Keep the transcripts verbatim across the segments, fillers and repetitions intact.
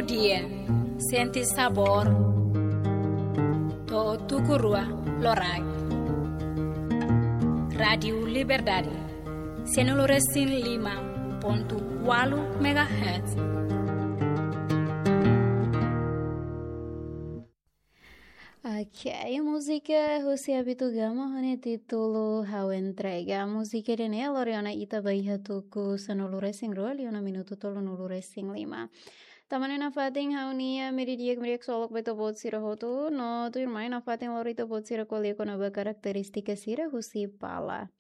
Dia, sente sabór. To'o tuku rua loraik. Rádiu Liberdade, sanulu resin lima pontu ualu megahertz. Ok, múzika husi Abito Gama ho nia títulu Ha'u Entrega. Múzika ida-ne'e lori ona ita ba iha tuku sanulu resin rua, liu ona minutu tolunulu resin lima. Tanba ne'e nafatin ha'u-nia media di'ak, media solok ba ita-boot sira hotu, no tuirmai nafatin lori ita-boot sira ko'alia kona-ba karakterístika sira husi pala.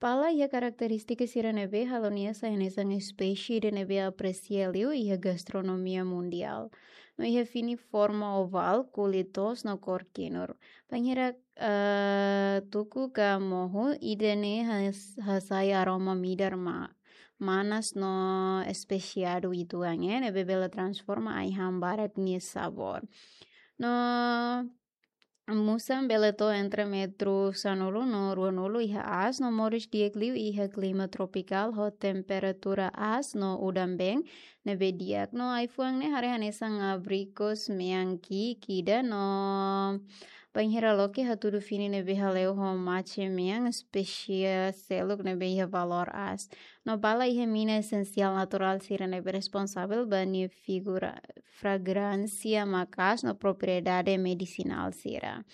Pala iha karakterístika sira ne'ebé halo nia sai hanesan espésie ida ne'ebé apresia liu iha gastronomia mundiál. No iha fini forma ovál, kulit toos no kór kinur. Bainhira, eh, tuku ka mohu, ida-ne'e has-, hasai aroma midar ma-, manas no espesiadu uitoan, eh, ne'ebé bele transforma ai-han barak nia sabór. No musan bele to'o entre metru sanulu no ruanulu iha aas, no moris di'ak liu iha klima tropikál ho temperatura aas no udan-been ne'ebé di'ak. No ai-fuan ne'e haree hanesan abrikos, mean ki'ik ida, no bainhira loke hatudu fini ne'ebé hale'u ho mace mean, espésie seluk ne'ebé iha valór aas. No pala iha mina esensiál naturál sira ne'ebé responsavel ba nia figura, fragránsia maka'as no propriedade medisinál sira.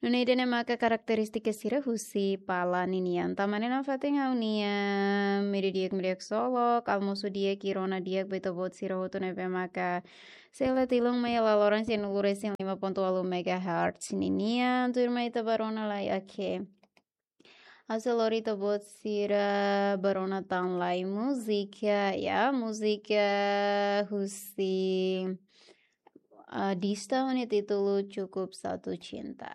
Nune'e ida-ne'e maka karakterístika sira husi pala ninian. Tanba ne'e nafatin ha'u-nia media di'ak, media solok, almosu di'ak, rona di'ak ba ita-boot sira hotu ne'ebé maka sei la tilun mai iha laloran sanulu resin lima pontu ualu megahertz ninian. Tuirmai ita ba rona lai, ok. Ha'u sei lori ita-boot sira ba rona tan lai múzika, ya, múzika husi, ah, Dista ho nia títulu Cukup Satu Cinta.